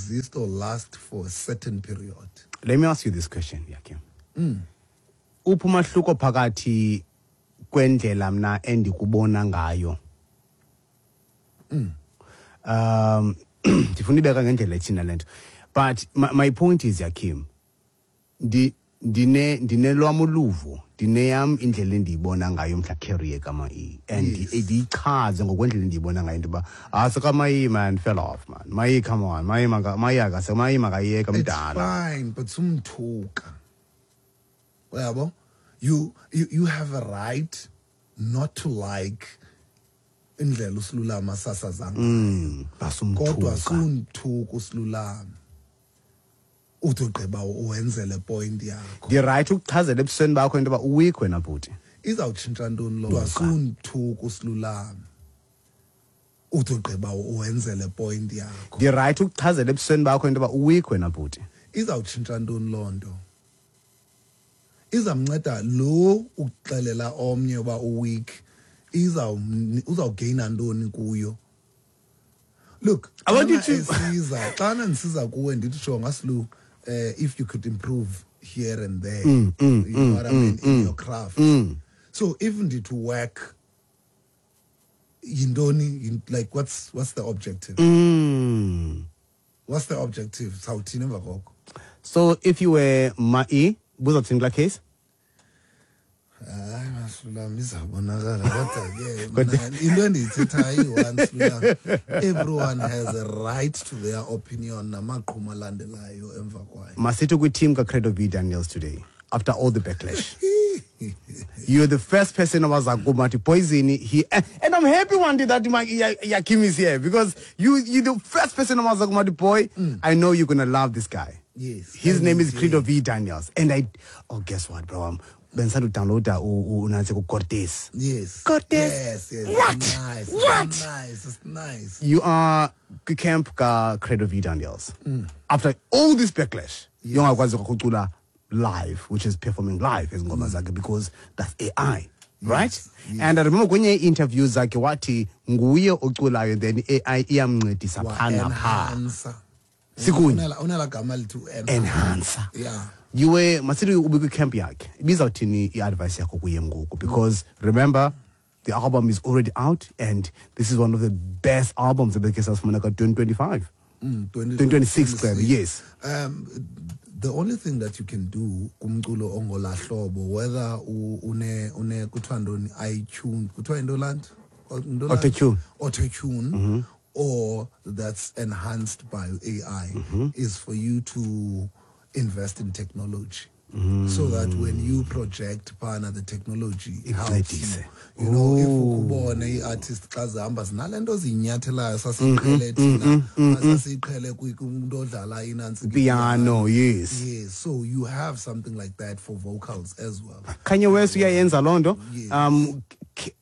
exist or last for a certain period. Let me ask you this question, Yakim. Uphi umahluko phakathi kwendlela mna endikubona ngayo? Ndifuna ibeka ngendlela ethina le nto. But my point is, Yakim, ndinelwam uluvo, ndineyam indlela endiyibona ngayo mhla career kaMayi, and ndiyichaze ngokwendlela endiyibona ngayo into yoba asekaMayi man fell off, man. Mayi, come on, Mayi Mayi akase Mayi makayeka It's mdala. Fine, but sumthuka. Uyabo? You have a right not to like indlela uSilulama asasaza ngayo. Basumthuka. Kodwa sumthuka uSilulama. Uthi ugqiba uwenze le point yakho. Ndi-right ukuchazela ebusweni bakho into yoba uweak wena bhuti. Izawutshintsha ntoni lo? Kodwa sumthuka uSilulama. Uthi ugqiba uwenze le point yakho. Ndi-right ukuchazela ebusweni bakho into yoba uweak wena bhuti. Izawutshintsha ntoni loo nto? Izamnceda lo ukuxelela omnye uba uweak, uzawugaina ntoni kuyo? Look, I want you xana to esiza, xana ndisiza kuwe ndithi jonga Slu, if you could improve here and there, you know what I mean, in your craft. So if ndithi work, yintoni, like what's the objective? What's the objective? Sawuthini emva koko? So if you were Mai, buzawuthini kulaa case? Hayi, Masilulama, izawubonakala, kodwa ke mna into endiyithethayo iyi-one, Silulama. Everyone has a right to their opinion namaqhuma alandelayo emva kwayo. Masithi kwi-team kaCredo V Daniels today, after all the backlash. You're the first person owaza kum athi Poison he, and I'm happy one day that my Yakim is here, because you're the first person owaza kum athi boy, I know you're going to love this guy. Yes. His name is And Credo V Daniels. And I, oh, guess what, bro? I'm bendisanda udownloada unantsi kuCortez. Yes. Cortez. Yes. What? It's nice. What? It's nice. It's nice. You are camp ka Credo V Daniels. After all this backlash, yongakwazi ukucula live, which is performing live ezingoma zakhe, because that's AI, right? Yes. And I remember kwenye interview zakhe wathi nguye oculayo, then AI iyamncedisa Wa pha na pha. enhancer. Sikunye. Unela gama lithi u-enhancer. Enhancer. Yeah. You were masithi ube kwi-camp yakhe. Ibizawuthini i-advice yakho kuye ngoku? Because remember, the album is already out, and this is one of the best albums ebekhe sasifumana ka-2025. 2026, 2026. yes. The only thing that you can do kumculo ongolahlobo, whether une kuthiwa ntoni, iTunes, kuthiwa yinto laa nto? Into laa nto? Auto-tune. Auto-tune, or that's enhanced by AI, is for you to invest in technology. So that when you project pana, the technology helps you. Incedise. If Oh. ukubone i-artist xa zihamba zinale nto zinyathelayo sasiyiqhele thina, sasiyiqhele kumntu odlala inantsi piano, yes. Yes, so you have something like that for vocals as well. Kanye West uyayenza loo nto. Yes.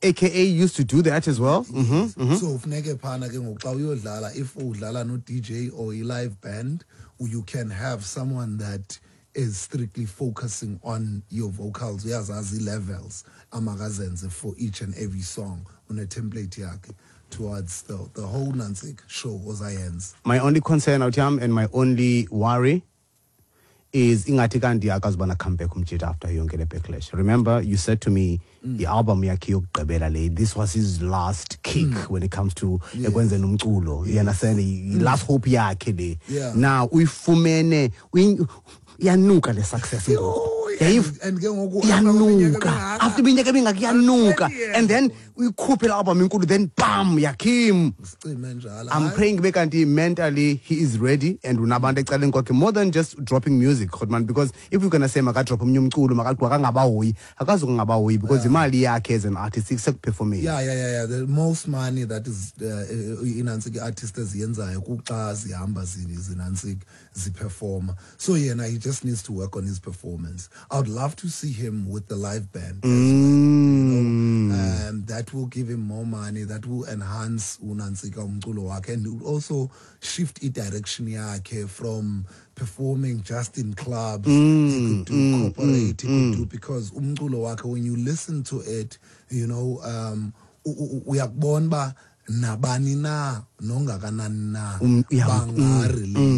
AKA used to do that as well. Yes. So funeke phana ke ngoku xa uyodlala, if udlala no DJ or i live band, you can have someone that is strictly focusing on your vocals. Uyazazi levels amakazenze for each and every song on a template yakhe towards the whole nantsik show ozayenza. My only concern out here and my only worry is ingathi kanti akazubana comeback umjita after yonke le backlash. Remember, you said to me, the album yakhe yokugqibela le, this was his last kick when it comes to ekwenzeni umculo. You understand? The last hope yakhe le. Now uyifumene, iyanuka le success ngoku. Yho, and ke ngoku Iyanuka. after iminyaka After iminyaka emingaki iyanuka. After And then uyikhuphe le album inkulu, then bam, Yakim. Sicime njalo. I'm Hayi. praying kube kanti mentally he is ready and unabantu ecaleni kwakhe more than just dropping music, Khotman, because if we're going to say makadrop omnye umculo, makangabahoyi, akazukungabahoyi because imali yakhe as an artist isekuperforming. Yeah. The most money that is inantsiki artist eziyenzayo kuxa zihamba zinantsiki ziperforma. So yena he just needs to work on his performance. I would love to see him with the live band as well. That will give him more money, that will enhance unantsika umculo wakhe, and will also shift i-direction yakhe from performing just in clubs. He could do corporate, he could do, because umculo wakhe, when you listen to it, uyakubona uba nabani na nongakanani na bangarelate.